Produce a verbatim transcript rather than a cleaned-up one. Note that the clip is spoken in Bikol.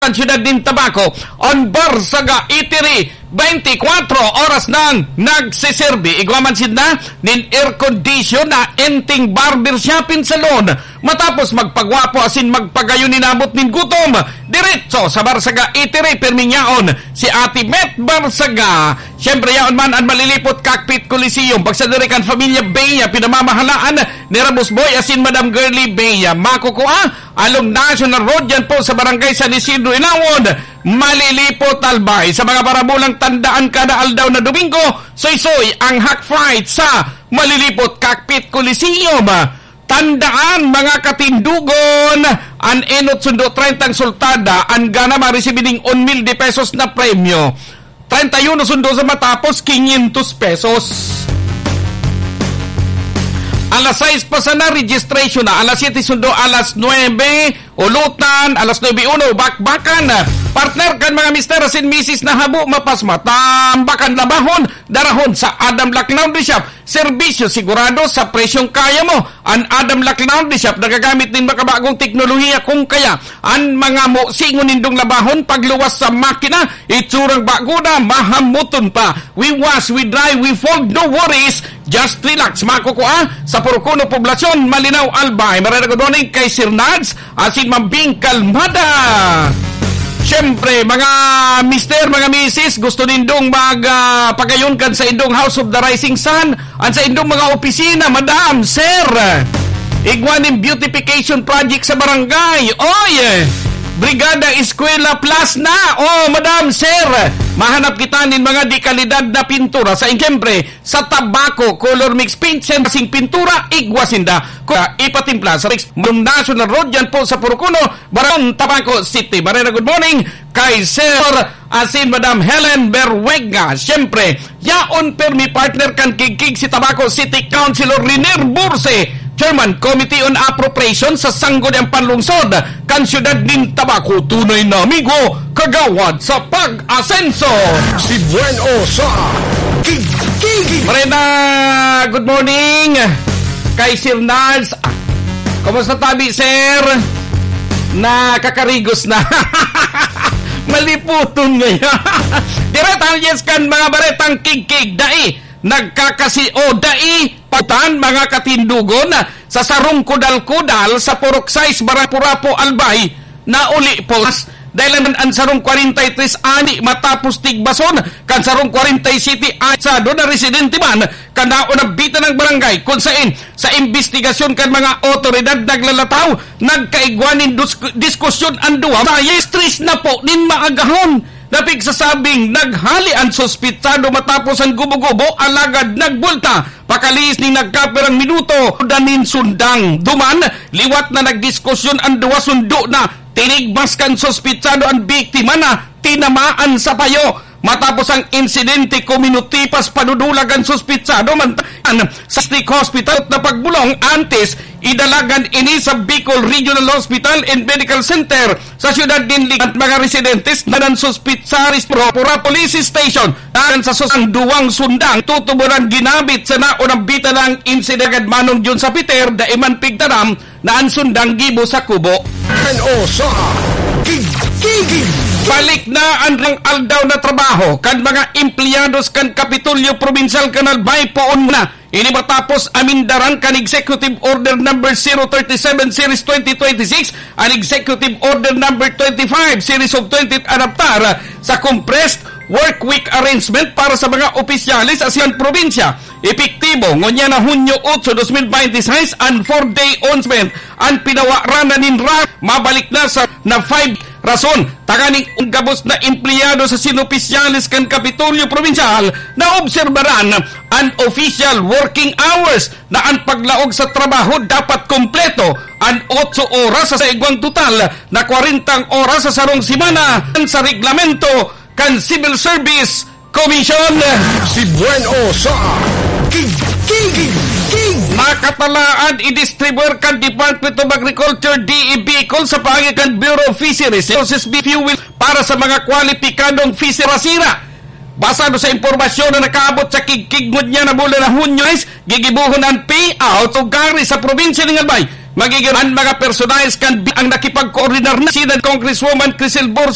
Siyudad nin Tabaco, an Barsaga Eatery, twenty-four oras nang nagsiserbi. Igwa man sinda nin air condition na enteng barber shop and salon. Matapos magpagwapo asin magpagayon inabot nin gutom, diretso sa Barsaga Eatery, pirming yaon si Ate Met Barsaga. Siyempre, yaon man an Malilipot Cockpit Coliseum. Pagsadiri kan Familia Bea, pinamamahalaan ni Rabos Boy asin Madam Girlie Bea. Makukua along National Road, yan po sa Barangay San Isidro, Inawon, Malilipot, Albay. Sa mga parabolang tandaan, kada aldaw na Domingo, soy-soy ang Hack Fright sa Malilipot Cockpit Coliseum. Tandaan, mga katindugon, an enot sundo treinta ang sultada, an gana maresibi ning un mil de pesos na premyo. Treinta y uno sundo sa matapos, quinientos pesos. Alas sais pa sana, registration na. Alas siyete sundo, alas nuebe, ulutan, alas nuebe uno, bakbakan. Partner kan mga mister asin misis na habo, mapas matambakan labahon, darahon sa Adam Lac Laundry Shop. Serbisyo sigurado sa presyong kaya mo. An Adam Lac Laundry Shop nagagamit nin makabagong teknolohiya, kung kaya an mga mo singon nindong labahon pagluwas sa makina, itsurang bago na, mahamuton pa. We wash, we dry, we fold, no worries. Just relax. Makukua sa Purok Uno, Poblacion, Malinao, Albay. Marhay na good morning kay Sir Nads asin Ma'am Bing Kalmada. Siyempre, mga mister, mga misis, gusto nindong mag, ah, pagayon kan saindong House of the Rising Sun, an saindong mga opisina, madam, sir. Igwa nin beautification project sa barangay. Oy, Brigada Eskwela Plus na. Oh, madam, sir. Mahanap kita nin mga dekalidad na pintura sa, siyempre, sa Tabaco Color Mix Paint, siyempre, sing pintura, igwa sinda. Kaya ipatimpla sa Mix National Road, yan po sa Purok Uno, Barangay Tabaco City. Marhay na good morning kay Sir asin Madam Helen Berwenga. Siyempre, yaon pirmi partner kan Kigkig si Tabaco City Councilor Riner Burse, Chairman Committee on Appropriation sa Sangguniang Panlungsod kan Siyudad nin Tabaco. Tunay na amigo, kagawad sa pag-asenso. Si Buen O sa Kigkig. Marhay na good morning kay Sir Nars. Kumusta tabi, sir? Nakakarigos na. Maliputon ngayon. Diretang yes kan mga baretang Kigkig, dai nagkakasi o dai pautan, mga katindugon, sa sarong kudal-kudal sa Purok sais, Barangay Purapo, Albay, nauli po. Dahil an, an sarong kwarenta y tres ani matapos tigbason kan sarong kwarenta y siyete anyado na residente man kan naunabita ng barangay, kung sain sa imbestigasyon kan mga otoridad naglalataw, nagkaigwa nin dus-, diskusyon an duwa. Sa stress na po nin maagahon na pigsasabing naghali an suspitsado matapos an gubo-gubo, alagad nagbulta pakalihis nin nagkapirang minuto, danin sundang. Duman, liwat na nagdiskusyon an duwa, sundo na tinigbas kan suspitsado an biktima na tinamaan sa payo. Matapos ang insidente, kuminutipas padudulag an suspitsado man sa District Hospital na pagbulong antes idalagan ini sa Bicol Regional Hospital and Medical Center sa siyudad nin Ligan. Mga residentes na nan suspitsaris Pura Police Station. Ayon sa sus-, ang duwang sundang tutuboran ginamit sa naunang bita ng insidente, manong Jun sa Peter, dai man pigtaram na an sundang gibo sa kubo. Ano sa Kigkig? Balik na an rang aldaw na trabaho kan mga empleyados kan Kapitolyo Probinsyal kan Albay poon na. Ini matapos amindaran kan Executive Order Number zero thirty-seven Series twenty twenty-six, an Executive Order Number twenty-five Series of twenty adaptar sa compressed work week arrangement para sa mga opisyales sa siyang probinsya. Epektibo ngunyan na Hunyo otso, dos mil baynte sais, an four-day onsment, an pinawaranan nin ra-, mabalik na sa na five. Rason, tanganing gabos na empleyado sa sinopisyales kan Kapitolyo Probinsyal na obserbaran an official working hours na an paglaog sa trabaho dapat kompleto an otso oras sa igwang total na kwarentang oras sa sarong semana sa reglamento kan Civil Service Commission. Si Buen O sa Kigkig. Makatalaan idistribuyar kan Department of Agriculture, D E Bicol, sa paagi kan Bureau of Fisheries Resources, B F U, para sa mga kwalipikadong fisherasira. Basado sa impormasyon na nakaabot sa Kigkig ngunyan na bulan na Hunyo, gigibohon an payout o gari sa probinsya ning Albay. Pagiging ang mga personahes kan bi-, ang nakipagkoordinar na si Congresswoman Crisel Borges